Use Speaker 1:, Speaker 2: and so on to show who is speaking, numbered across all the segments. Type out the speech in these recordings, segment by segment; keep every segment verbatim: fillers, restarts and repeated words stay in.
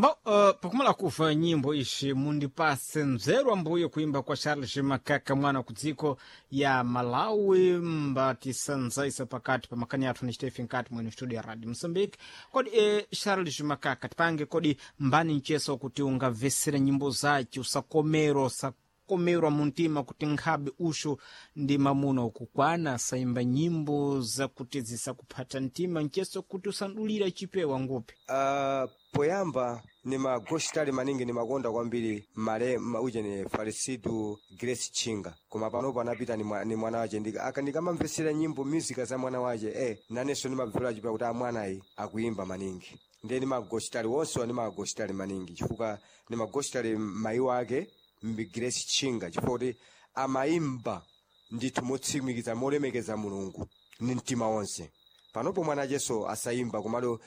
Speaker 1: Mbo uh, pakumala kufa nyimbo ishi mundipase nzeru ambuye kuimba kwa Charles Makaka mwana kudziko ya Malawi mbatisanzaisa pakati pa makani athu ni Stephen nkati mwene studio ya Radio Mozambique. Kodi eh, Charles Makaka tipange kodi mbani mcheso kuti ungamvesere nyimbo zace usakomero usakomerwa muntima kuti nkhabe usho ndi mamuna ukukwana saimba nyimbo zakuti zisakuphata mtima mcheso kuti usandulira chipewa ngupi.
Speaker 2: Uh, poyamba nimagoshitali maningi nimakonda kwambiri male ma, uje ni Farisidu Grace Chinga, koma panopo anapita ni, mwa, ni mwana wace. Ndika aka ndikamamvesera nyimbo music za mwana wace eh, nanenso nimamvera chipewa kuti amwanayi akuimba maningi. Ndiye nimagoshitali wonse nimagoshitali maningi chifukwa nimagoshitali mayi wake mbi Grace Chinga, chifukwa kuti amayimba ndithu motsimikiza molemekeza Mulungu ni mtima wonse. Panopo mwana acheso asayimba, komalo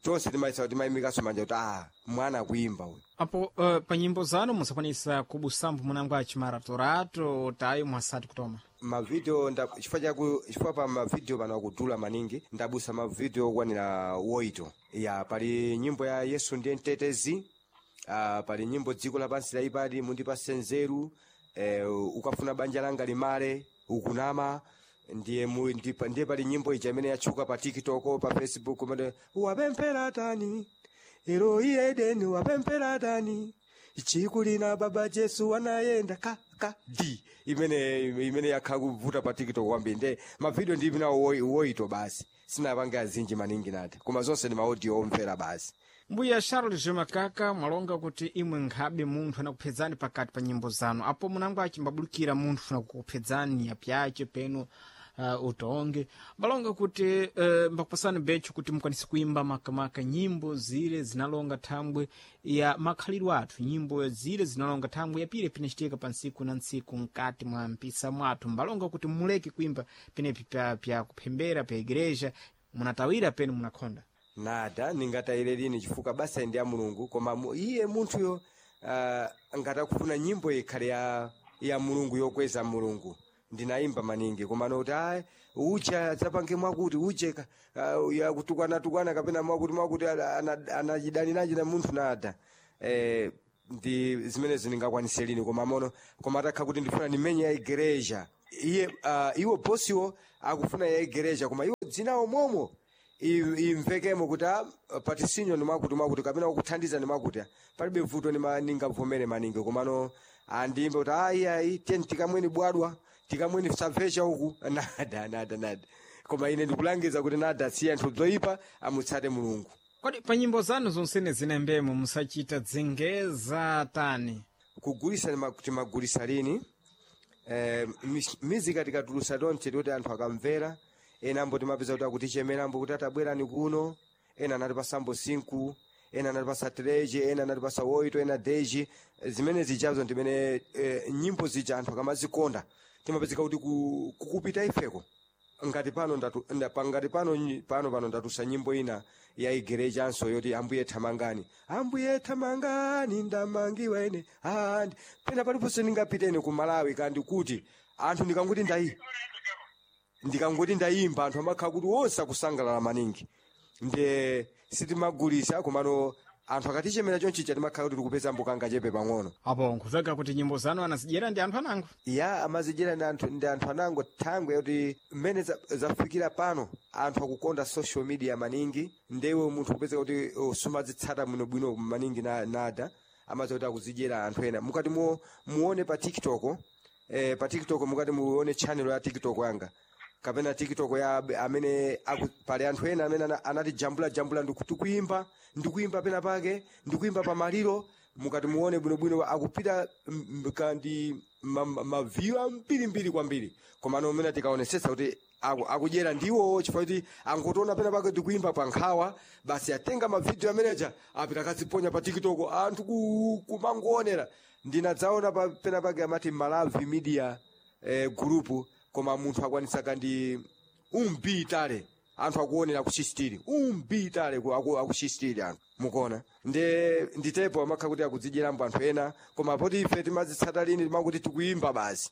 Speaker 2: tonse timayisa timayimikanso manja kuti ah, mwana akuimba uyu.
Speaker 1: Apo uh, pa nyimbo zanu musakwanisa kubusambo munango achimaratorato tayo mwasati kutoma
Speaker 2: mavideo nda chifukwa chaku chifukwa pa mavideo pano akudula maningi, ndabusa mavideo okwanira woito ya pali nyimbo ya Yesu ndiye mtetezi, uh, pali nyimbo dziko lapansi laipadi mundipase nzeru, eh, ukafuna banja langa limale ukunama ndiye mu, ndipa, ndiye pali nyimbo ija imene yatchuka pa TikTok pa Facebook umene wapemphera tani Eroi Edeni wapemphera tani chikulina baba Jesu anayenda ka ka di imene imene yakha kuvuta pa TikTok kwambiri. Nde mavideo ndi nawo woito basi sinapange azinji maningi nati, koma zonse ndi maaudio omvera basi.
Speaker 1: Mbuya Charles Makaka mwalonga kuti imwe nkhabe munthu anakuphedzani pakati pa nyimbo zanu apo munango achimbabulukira munthu funa kukuphedzani apyace peno uh, utonge balonga kuti uh, mbakupasani becho kuti mukwanise kuimba makamaka nyimbo zile zinalonga thambwe ya makhalidwe athu, nyimbo zile zinalonga thambwe yapire pinachitika pa ntsiku na ntsiku mkati mwa mpisa mwathu. Mbalonga kuti muleke kuimba penepi pya, pya kuphembera pya igreja munatawira peno munakhonda
Speaker 2: nada ningatayire lini chifukwa basa ndi ya Mulungu, koma mu, iye munthuyo uh, ngatakufuna nyimbo ikhale ya, ya Mulungu yokweza Mulungu ndinayimba maningi, koma noti ayi uja adzapange mwakuti uje uh, yakutukwana-tukwana kapena mwakuti mwakuti anachidani nachi na munthu nada eh, ndi zimenezo ndingakwanise lini, koma mono koma atakha kuti ndifuna ndimenye ya igreja iye uh, iwo bosiwo akufuna ya igreja koma iwo dzinawo momo imvekemo kuti patisinyo ni mwakuti mwakuti kapena kukuthandiza ni mwakuti palibe vuto ningavomere maningi, komano andimbe kuti ayi ayi teni tikamweni bwadwa tikamweni sabvecha uku nada nada nada, koma ine ndikulangiza kuti nada siye anthu zoyipa amutsate Mulungu.
Speaker 1: Kodi pa nyimbo zanu zonsene zinembemo musachita dzengeza tani
Speaker 2: kugulisa timagulisa lini eh, mizika tikatulusa tonse tikuti anthu akamvera ena ambo timapeza kuti akutichemera ambo kuti atabwerani kuno, ena anatipasa mbo sinku, ena anatipasa treje, ena anatipasa woito, ena deji. Zimene zijazo ndimene e, nyimbo zija anthu akamazikonda timapezeka kuti kukupita ifeko. Ngati pano ndatu, nda, ngati pano pano pano ndatusa nyimbo ina ya igerechanso yoti ambuye thamangani, ambuye thamangani ndamangiwa ine andi pena paliponse ndingapitene ku Malawi kandi kuti anthu ndikanguti ndayi ndikangoti ndayimba anthu amakhala kuti wonse akusangalala maningi. Ndiye sitimagulisa komano anthu akatichemera chonchicha timakhala kuti tikupeza mbukanga chepe pang'ono.
Speaker 1: Apo nkuveka kuti nyimbo zanu anazidyera ndi anthu anango
Speaker 2: ya amazidyera ndi anthu ndi anthu anango thangwe yoti mmene zafikira pano anthu akukonda social media maningi, ndewe munthu kupezeka kuti sumazitsata bwinobwino maningi na, nada amaza kuti akuzidyera anthu ena. Mukati mu, muone pa TikTok eh, pa TikTok mukati muone channel ya TikTok yanga kapena TikTok ya amene aku, pali anthu ena amene anati jambula jambula ndikuimba ndikuimba pena pake ndikuimba pa maliro, mukati muone bwinobwino akupita kandi maviyu ma, ambirimbiri kwambiri, koma no amene tikaonesesa kuti akudyera ndiwo chifukwa kuti angotiona pena pake tikuimba pa nkhawa basi atenga mavidiyo ameneja apita akaziponya pa TikTok anthu kumangoonera. Ndinadzaona pa pena pake amati Malawi Media eh, group, koma munthu akwanisa kandi umbitale anthu akuonera kuchistiri umbitale akuchistiri anthu mukuona nde nditepo amakhala kuti akudzidyeramo anthu ena, koma poti ife timazitsata lini timakuti tikuimba basi,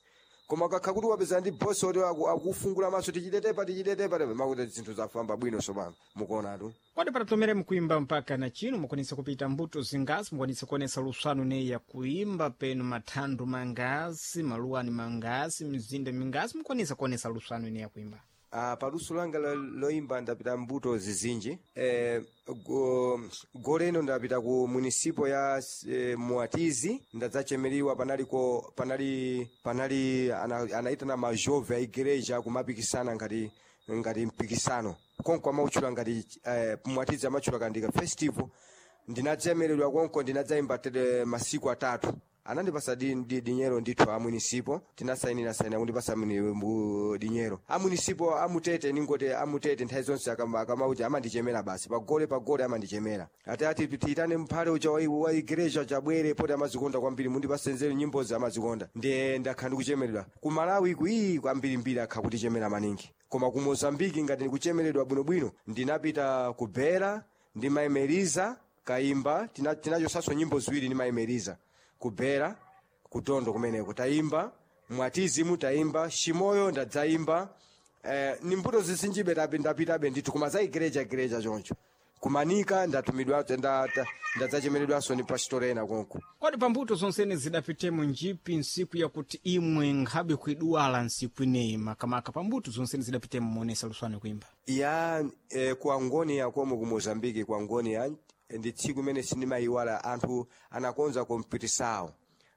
Speaker 2: Koma kakha kuti wapeza ndi bosi oti aku- akufungula maso, tichitetepa tichitetepa makuti zinthu zafamba bwino sopano mukuonatu.
Speaker 1: Kodi patatomere mukuimba mpaka na chino mukwanisa kupita mbuto zingazi, mukwanisa kuonesa luswano ineyi ya kuimba penu mathandu mangazi, maluwani mangazi, mizinda mingazi, mukwanisa kuonesa luswano ineyi ya kuimba?
Speaker 2: Ah, paluso langa lo- loimba ndapita mbuto zizinji. eh, go, goleno ndapita ku munisipo ya eh, Muatizi, ndadzachemeriwa panaliko panali panali ana, anaitana majove a igreja kumapikisana ngati ngati mpikisano konko amautchula ngati eh, Muatizi amatchula kandika festival. Ndinadzemeredwa konko, ndinadzayimba tere masiku atatu, anandipasa di, di, dinyero ndithu a munisipo, tinasainira saina kundipasa muni- mu- dinyero a munisipo amutete, ningoti amutete nthawi zonse akama- akamauti amandichemera basi pagole pagole amandichemera ati ati tiyitane mphale uja wa wa igreja chabwere poti amazikonda kwambiri, mundipase nzeru nyimbozi amazikonda. Ndiye ndakhala ndikuchemeredwa ku Malawi kuii kwambirimbiri akha kutichemera maningi, koma ku Mozambiki ngati ndikuchemeredwa bwinobwino ndinapita ku Bera ndi Maimeriza kayimba, tina- tinachosanso nyimbo ziwiri ndi Maimeriza kubhera kutondo kumeneko tayimba, Mwatizimu tayimba, Shimoyo ndadzayimba, eh, ni mbuto zisinjibe tapi- ndapitabe ndithu koma za igereja igereja choncho kumanika ndatumidwa ndadzachemeredwanso ndi pasitorena konko.
Speaker 1: Kodi pambuto zonsene zidapitemo njipi nsiku yakuti imwe nkhabe kuiduwala nsiku ineyi, makamaka pambuto zonsene zidapitemo muonesa luswano kuimba?
Speaker 2: Ya, eh, ku Angonia komwe ku Mozambiki, ku Angonia ndi tsiku imene sindimayiwala, anthu anakonza kompitisawo,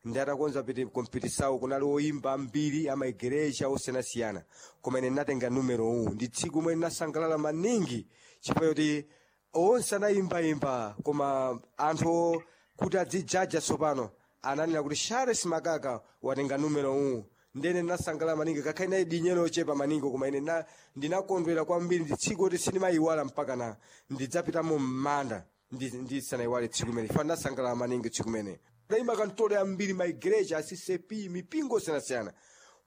Speaker 2: ndi atakonza piti kompitisawo kunali oyimba ambiri amaigereja osiyanasiyana, koma ine ndinatenga numero uwu. Ndi tsiku imene ndinasangalala maningi chifukwa choti onse anayimbayimba, koma anthu kuti adzijaja tsopano ananena kuti Charles Makaka watenga numero uwu. Ndene ndinasangalala maningi kakha inayi dinyero ochepa maningi, koma ine na- ndinakondwera kwambiri. Ndi tsiku kuti sindimayiwala mpaka na ndidzapitamo m'manda ndisanayiwale tsiku imene fa ndinasangalala maningi tsiku imene ndayimba kantolo yambiri maigereja a C C P mipingo osiyanasiyana,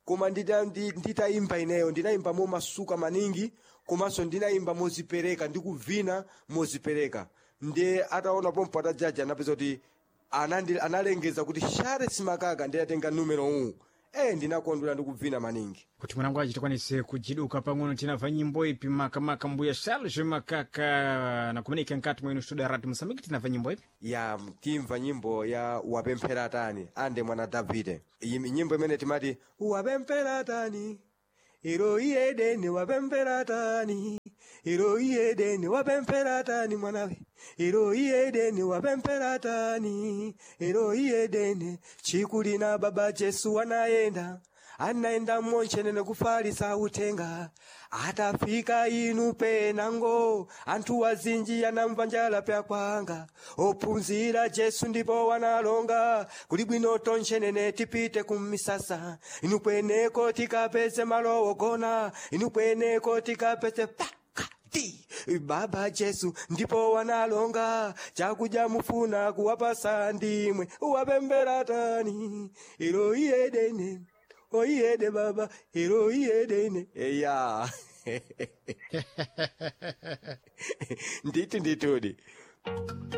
Speaker 2: koma ndita- ndi- nditayimba ineyo ndinayimba momasuka maningi, komanso ndinayimba mozipereka ndikuvina mozipereka. Ndiye ataona pompo atajaja anapeza kuti anandi- analengeza kuti Charles Makaka ndiye atenga numero uwu. Eh, ndinakondwera ndikuvina maningi.
Speaker 1: Kuti mwanangu achi tikwanise kujiduka pang'ono, tinamva nyimbo ipi makamaka mbuya Charles Makaka nakumanika nkati mwenu studio ya Radio Mosambiki, tinamva nyimbo ipi?
Speaker 2: Ya, timva nyimbo ya wapemphera tani ande mwana Davide. Iyi nyimbo imene timati wapemphera tani iro iyedeni, wapemphera tani iro iyedeni, wapemphera tani mwanawe iro iyedeni, wapemphera tani iro iyedeni. Chikulina baba Jesu anayenda anaenda monchenene kufalisa utenga, atafika inu penango anthu azinji anamva njala pyakwanga, ophunzira Jesu ndipo wanalonga kuli bwino tonchenene tipite kumisasa, inu kweneko tikapeze malo ogona, inu kweneko tikapeze pakati baba Jesu ndipo wanalonga chakudya mufuna kuwapasa ndimwe wapembera tani ilo iyedene oiyede baba ilo iyedene eya nditi nditudi.